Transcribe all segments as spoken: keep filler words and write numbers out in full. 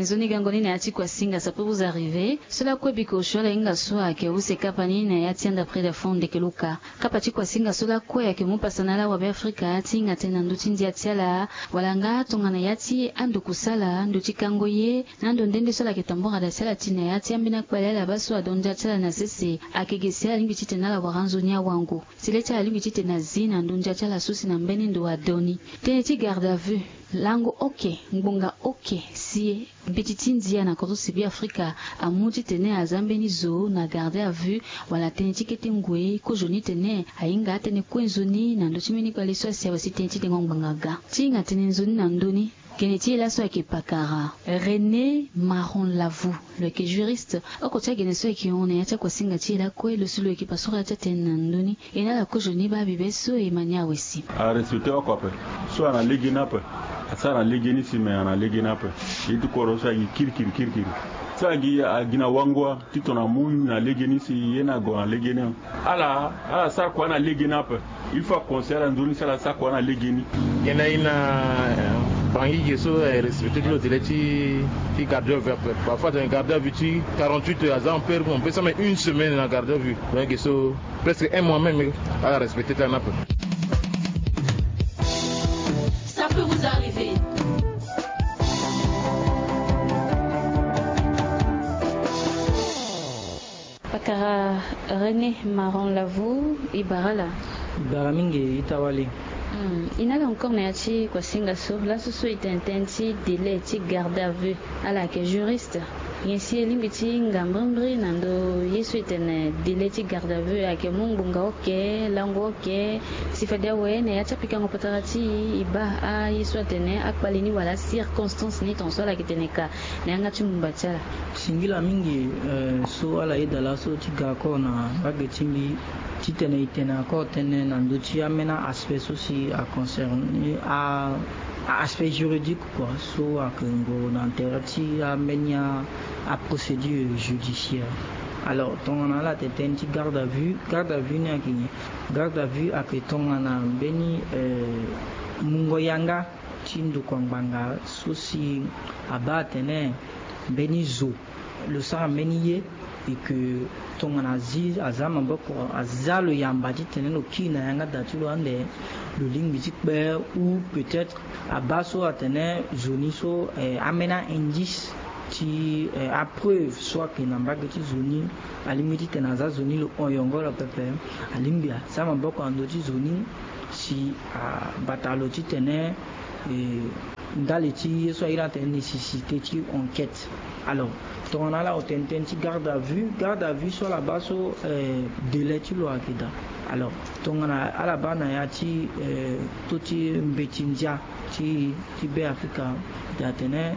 Nzoni gango ni na ya ti kuasinga, ça peut vous arriver. So lakue biko osio ala hinga so ayeke use kapa ni na ya ti anda près de fond ndeke luka. Kapa ti kuasinga so lakue ayeke mu pasa na ala wabeafrika ti hinga tënë na ndö ti ndia ti ala, wala nga tongana ya ti ando kusala, ndö ti kango ye, na ando nde nde so ala yeke tambura da ti ala ti na ya ti ambeni akpale ala baa so adon ndia ti ala na sese, ayeke ge si ala lingbi titene ala wara nzoni awango. Si le ti ala lingbi titene azi na ndö ndia ti ala so si na mbeni ndo adon ni. Tënë ti garde à vue. Lango oke, ngbonga oke, si e, mbeti ti ndia na kodro si Beafrika amu titene aza mbeni zo na garde à vue, wala tënë ti kete ngoi, kozoni tene ahinga atënë kue nzoni na ndö ti mbeni kpale so asi awe si tënë ti dengo ngbanga aga. Ti hinga tënë nzoni na ndö ni, gene ti e laso ayeke pakara René Maron Lavou, lo yeke juriste. Oko ti agene so ayeke hon na ya ti akuasinga ti e lakue, lo si lo yeke pasoro ya ti atënë na ndö ni. E na ala kozoni baa bibe so e ma ni awe si. Arespecte oko ape. So ana lege ni ape. Asara na lege ni si me ana lege ni ape. Ye ti kodro so agi kirikiri kirikiri. So agi, agi na wango ti tongana amu na lege ni si ye ni ague na lege ni. Ala, ala sara kua na lege ni ape. Il faut aconseiller ala nzoni si ala sara kua na lege ni. Gene e na, eh, bangi ge so, eh, respecte ti lo délai ti, ti garde à vue ape. Parfois atene garde à vue ti quarante-huit heures, aza ampere, on peut sara même une semaine na garde à vue. Donc ge so presque un mois même, ala respecte ti ala ni ape. Ça peut vous arriver. Pakara René Maron Lavou, e bara ala. E bara mingi, e ta wali. Hmm, e na ala encore na ya ti kuasinga so, laso so e tene tënë ti délai ti garde à vue. Ala ayeke juriste. Nyen si e lingbi ti hinga mbrimbri na ndö ye so e tene délai ti garde à vue ayeke mu ngbonga oke, lango oke, si fade awe na ya ti apikango patara ti e, e baa aye so atene akpale ni wala acirconstance ni tongaso ala yeke tene ka na yanga ti mumba ti ala. Singila mingi, eh, so ala yeda laso ti ga encore na mbage ti mbi titene e tene encore tënë na ndö ti ambeni aspect so si aconcerné a, a aspect juridique, quoi, so ayeke ngu na intérêt ti ambeni a, aprocédure judiciaire. Alors tongana ala tene tënë ti garde à vue, garde à vue ni ayeke nyen? Garde à vue ayeke tongana mbeni, eh, mungo yanga ti ndokua ngbanga so si abaa atene mbeni zo lo sara mbeni ye, e ke tongana azi, aza maboko, aza lo yamba titene lo kiri na yanga da ti lo ande, lo lingbi ti kpe, ou peut-être abaa so atene zo ni so, eh, ambeni a-indice ti, eh, apreuve so ayeke na mbage ti zo ni, alingbi titene aza zo ni lo hon yongoro pepe, alingbi aza maboko na ndö ti zo ni si abata lo titene, eh, ndali ti ye so a iri atene nécessité ti enquête. Alors tongana ala hon tënë ti garde à vue, garde à vue so ala baa so, eh, délai ti lo ayeke daa. Alors tongana ala baa na ya ti, eh, to ti mbeti ndia ti, ti Beafrika, e tene,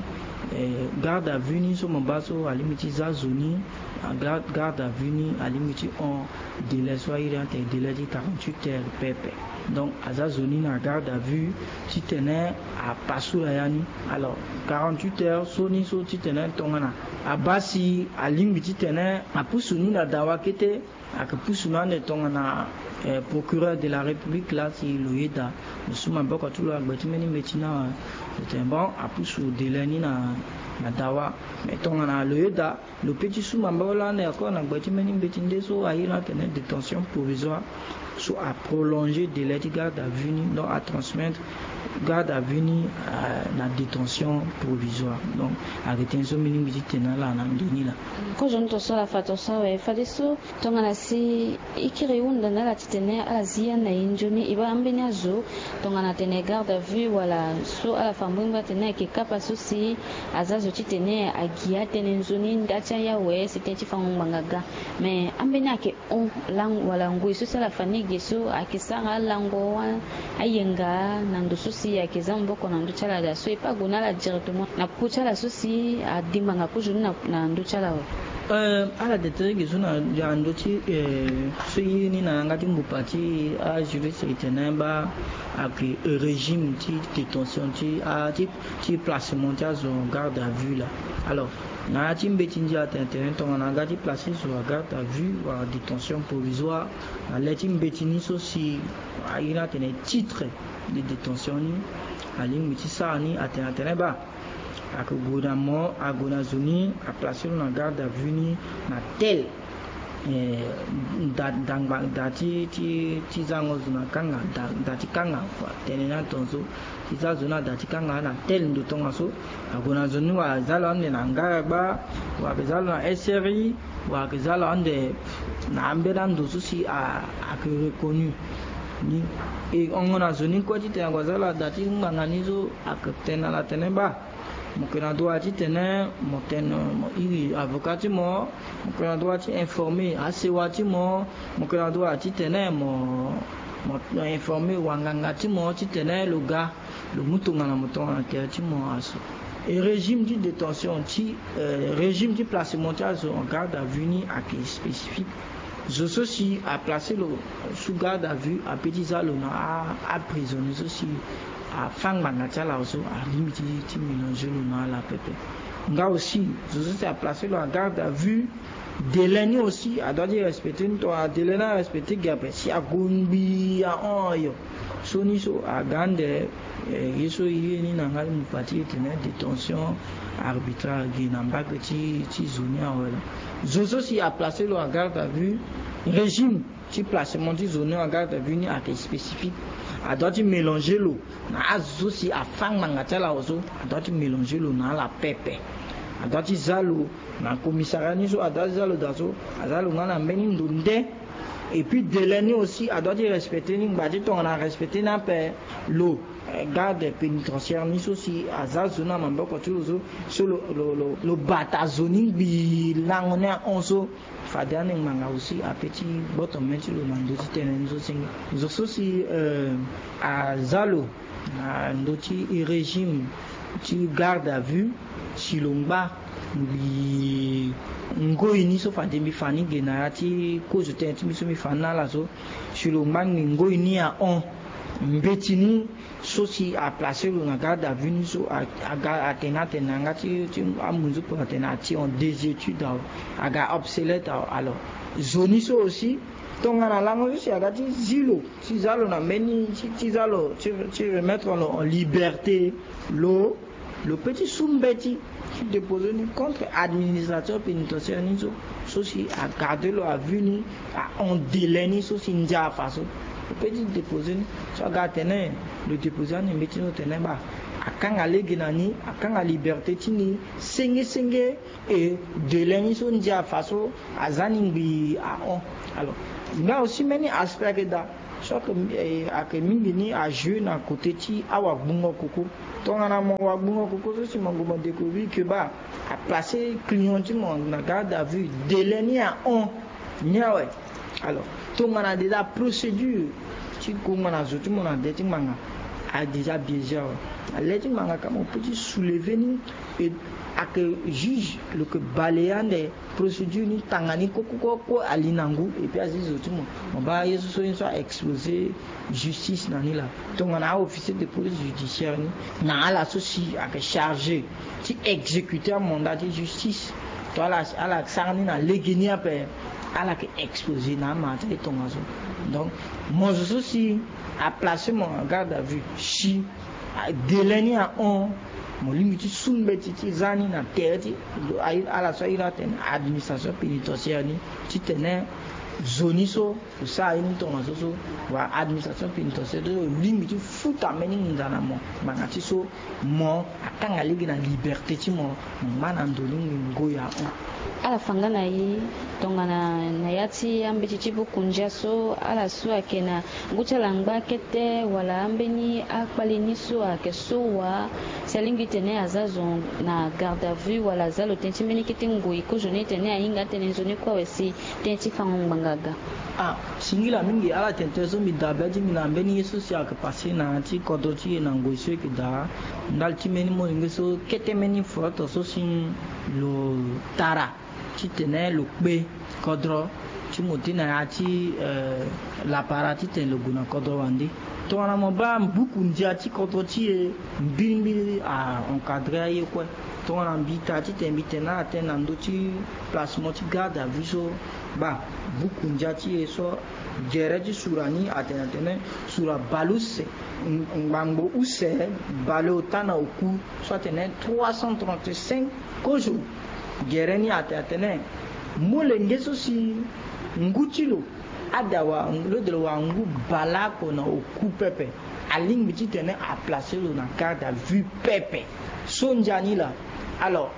eh, garde à vue ni so mo baa so alingbi ti za zo ni, a garde, garde à vue ni alingbi ti hon délai so a iri atene délai ti quarante-huit heures pepe. Donc aza zo ni na garde à vue titene apasula ya ni. Alors quarante-huit heures so ni so titene tongana abaa si alingbi titene apusu ni na dawa kete, ayeke pusu na ande tongana, eh, procureur de la République laa si lo yeda, lo su maboko ti lo na gbe ti mbeni mbeti ni awe, lo tene bon apusu délai ni na, na dawa. Mais tongana lo yeda, lo peut ti su maboko laa ande encore na gbe ti mbeni mbeti nde so a iri atene détention provisoire, so aprolonger délai ti garde à vue ni, donc atransmettre garde à vue ni, euh, na détention provisoire. Donc ayeke tënë so mbi lingbi ti tene na ala na ndö ni laa. Kozoni tongaso ala fa tongaso awe, fadeso tongana si e kiri e hunda na ala titene ala zi ya na e nzoni, e baa ambeni azo tongana atene garde à vue wala so ala fa mbrimbri atene ayeke kapa so si aza zo titene agi atënë nzoni nda ti aye awe si tënë ti fango ngbanga aga. Mais ambeni ayeke hon lango wala ngoi so si ala fa ni ge so ayeke sara alango, a, ayenga na ndo so si ayeke za maboko na ndö ti ala daa so e peut gue na ala directement na popo ti ala so si adi ngbanga kozoni na, na ndö ti ala awe. Euh, ala tene tënë ge so na, na ndö ti, euh, so e iri ni na yanga ti mbupa ti ajuriste e tene baa ayeke régime ti détention ti, a, ti, ti placement ti azo en garde à vue laa. Alors na ya ti mbeti ndia atene tene tongana aga ti placer zo en garde à vue wala détention provisoire, na le ti mbeti ni so si a iri atene titre de détention ni, alingbi ti sara ni atene atene baa ayeke gue na mo, ague na zo ni, aplace lo na garde à vue ni na tel. Eh, da, dangba, da ti, ti, ti zango zo na kanga, da, da ti kanga, tene ni atongaso. Ti za zo ni ada ti kanga na tel ndo tongaso. Ague na zo ni, wala aza lo ande na ngaragba, wala ayeke za lo na S R I, wala ayeke za lo ande na ambeni ando so si a, ayeke reconnu ni. E hongo na zo ni kue titene ague aza lo ada ti ngbanga ni so, ayeke tene na ala tene ba, mo yeke na droit titene mo tene, mo iri avocat ti mo, mo yeke na droit ti informer asewa ti mo, mo yeke na droit titene mo, mo informer wanganga ti mo titene lo ga, lo mu tongana mo tongana tere ti mo azo. E régime ti détention ti, eh, régime ti placement ti azo en garde à vue ni ayeke spécifique. Zo so si aplace lo sous garde à vue apeut ti za lo na a, aprisonnier so si afa ngbanga ti ala so, alingbi ti, ti mélanger lo na ala pepe. Nga aussi, zo so si aplace lo en garde à vue, délai ni aussi adoit ti respecter ni. Tongana délai ni arespecter ge ape, si ague ngbii ahon ayo, so ni so aga ande, eh, ye so e ye ni na nga ti mu fa ti e tene détention arbitraire ge na mbage ti, ti zo ni awe laa. Zo so si aplace lo en garde à vue, régime ti placement ti zo ni en garde à vue ni ayeke spécifique. Adoit ti mélanger lo na azo so si afa ngbanga ti ala so, adoit ti mélanger lo na ala pepe. Adoit ti za lo na commissariat ni so, adoit ti za lo daa so, aza lo nga na mbeni ndo nde. Et puis délai ni aussi adoit ti respecter ni, ngba ti tongana arespecter ni ape, lo, eh, garde pénitentiaire ni so si aza zo ni na maboko ti lo so, so lo, lo, lo, lo bata zo ni ngbii lango ni ahon so, fade ande ngbanga aussi apeut ti gboto mê ti lo na ndö ti tënë ni so senge. Zo so si, eh, aza lo na ndö ti régime ti garde à vue, si lo ngba ngbii ngoi ni so fade mbi fa ni ge na ya ti kozo tënë ti mbi so mbi fa ni na ala so, si lo ngba ngbii ngoi ni ahon, mbeti ni so si aplace lo na garde à vue ni so, a, aga atene atene na yanga ti, ti amunzu kua atene ati en désuétude awe, aga obsolète awe. Alors zo ni so aussi, tongana lango so si aga ti zi lo, ti za lo na mbeni, ti, ti za lo, ti, ti remettre lo en liberté, lo, lo peut ti su mbeti ti déposer ni contre administrateur pénitentiaire ni so, so si agarde lo à vue ni, ahon délai ni so si ndia afa so. Lo peut ti déposer ni. So aga atene lo déposer ande mbeti ni so tene ba, akanga lege na ni, akanga liberté ti ni senge senge, e délai ni so ndia afa so aza ni ngbii ahon. Alors nga aussi mbeni aspect ayeke daa, so ayeke, eh, ayeke mingi ni ajouer na côté ti awagbungo koko. Tongana mo wagbungo koko so si mo gue mo découvrir que ba aplace client ti mo na garde à vue, délai ni ahon ni awe. Alors tongana déjà procédure ti kongba na zo ti mo na de ti ngbanga a déjà biaisé awe. Na le ti ngbanga ka mo peut ti soulever ni, e ayeke juge lo yeke balayer ande procédure ni, tanga ni koko koko kue ali na ngu, et puis azi zo ti mo. Mo baa ye so so ye so a exposer justice na ni laa. Tongana a-officier de police judiciaire ni na ala so si ayeke chargé ti exécuter amandat ti justice, to ala, ala sara ni na lege ni ape, ala yeke exposer na amara ti aye tongaso. Donc mo zo so si aplace mo en garde à vue, si délai ni ahon, mo lingbi ti su mbeti ti za ni na tere ti ala so airi atene administration pénitentiaire ni, titene zo ni so lo sara ye ni tongaso so, wala administration pénitentiaire so lo lingbi ti futa mbeni nginza na mo ngbanga ti so mo akanga lege na liberté ti mo, mo ngba na ndo ni ngoi ahon. Ala fa nga na ye tongana na ya ti ambeti ti buku ndia so, ala so ayeke na ngu ti ala ngba kete wala ambeni akpale ni so ayeke so wa, si alingbi tene aza zo na garde à vue wala aza lo tënë ti mbeni kete ngoi kozo ni tene ahinga atene nzoni kue awe si tënë ti fango ngbanga aga. Ah, singila mingi. Ala tene tënë so mbi daa be ti mbi na mbeni ye so si ayeke passé na ya ti kodro ti e na ngoi so e yeke daa. Ndali ti mbeni molenge so kete mbeni foroto so si lo tara titene lo kpe kodro ti mo ti na ya ti, eh, lapara titene lo gue na kodro wande. Tongana mo baa buku ndia ti kodro ti e, mbirimbiri a encadrer aye kue. Tongana mbi taa titene mbi tene na atene na ndö ti placement ti garde à vue so, baa buku ndia ti e so, gere ti sura ni atene atene sura baleuse, ngbangbo use baleota na oku, so atene trois cent trente-cinq kozo. Gere ni atene atene molenge so si ngu ti lo ada wala lo de lo wala ngu baleoko na oku pepe, alingbi titene aplace lo na garde à vue pepe. So ndia ni laa. Alors,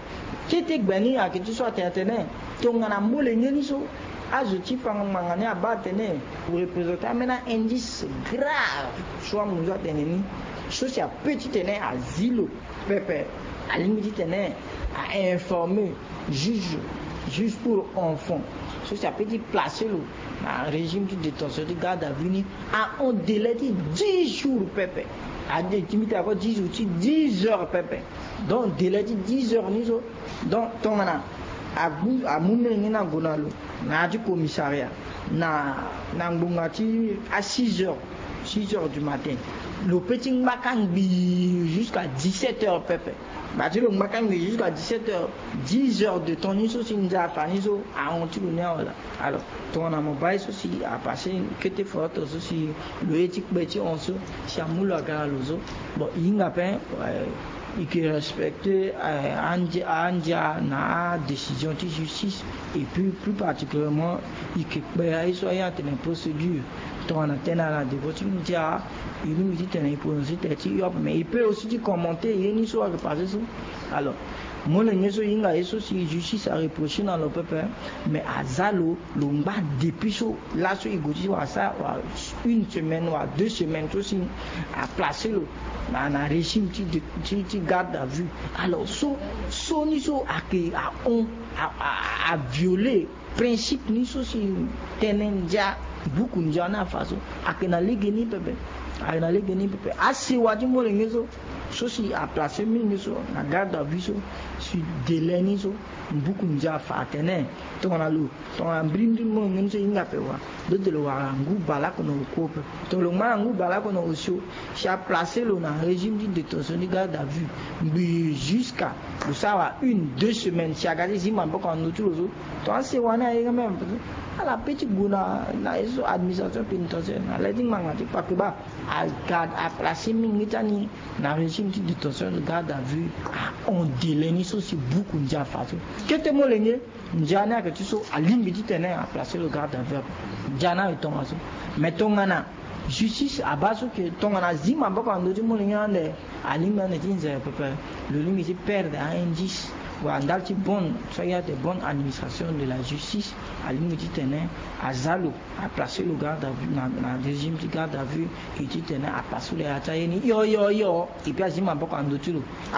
kete gbe ni ayeke ti so atene atene tongana molenge ni so, azo ti fango ngbanga ni abaa atene, représenter ambeni indice grave so amunzu atene ni, so si ape titene azi lo pepe, alingbi titene a informer juge, juge pour enfant, so si ape ti placer lo na régime ti détention ti garde à vue ni en un délai ti dix jours pepe. Ade ti mbi tene ako dix jours ti dix heures pepe. Donc délai ti dix heures ni so, donc tongana amu molenge ni ague na lo na ya ti commissariat na ngbonga ti a six heures, six heures du matin, lo pe ti ngbaka ngbii jusqu'à dix-sept heures pepe. Baa ti lo ngbaka ngbii jusqu'à dix-sept heures, dix heures de temps ni so si ndia afa ni so ahon ti lo ni awe laa. Alors tongana mo baa ye so si apasse, kete foroto so si lo ye ti kpe ti hon so si amu lo aga na lo so, bon, e hinga pe, euh, e ke respecter, euh, andia, andia na adécision ti justice, et puis plus particulièrement e ke kpe aye so aye atene procédure. Tongana tënë ala na devant ti ndia, e lingbi titene e prononcer tënë ti hiob, mais e peut aussi ti commenter ye ni so ayeke passe so. Alors molenge so e hinga ye so si justice areprocher na lo pepe, mais aza lo, lo ngba depuis so laso e gue ti wara sa wala une semaine wala deux semaines so si aplacer lo na, na régime ti, ti, ti garde à vue. Alors so, so ni so ayeke ahon, a, a, avioler principe ni so si tënë ndia, buku ndia ni afa so, ayeke na lege ni pepe. Ayeke na lege ni pepe. Asewa ti molenge so, so si aplacer mingi so na garde à vue so, si délai ni so, buku ndia afa atene tongana lo, tongana mbirimbiri molenge ni so e hinga ape wa, lo de lo wara ngu baleoko na oku pepe. Tongana lo ngba na ngu baleoko na osio, si aplacer lo na régime ti détention ti garde à vue ngbii jusqu'à lo sara wa une, deux semaines, si aga ti zi maboko na ndö ti lo so, tongana asewa ni aye même, ala pe ti gue na, na ye so administration pénitentiaire na le ti ngbanga ti kpakeba, a garde, aplacer mingi ti ani na régime ti détention de garde à vue, ahon délai ni so si buku ndia afa so. Kete molenge, ndia ni ayeke ti so alingbi titene aplacer lo garde à vue ape. Ndia ni ayeke tongaso. Mais tongana justice abaa so ke tongana azi maboko na ndö ti molenge ni ande, alingbi ande ti nzere pepe, lo lingbi ti perdre a-indice wala ndali ti bonne, so ayeke bonne administration de la justice, alingbi titene aza lo, aplacer lo garde à vue na, na régime ti garde à vue, e titene apasse lo ya ti aye ni hio hio hio, et puis azi maboko na ndö ti lo.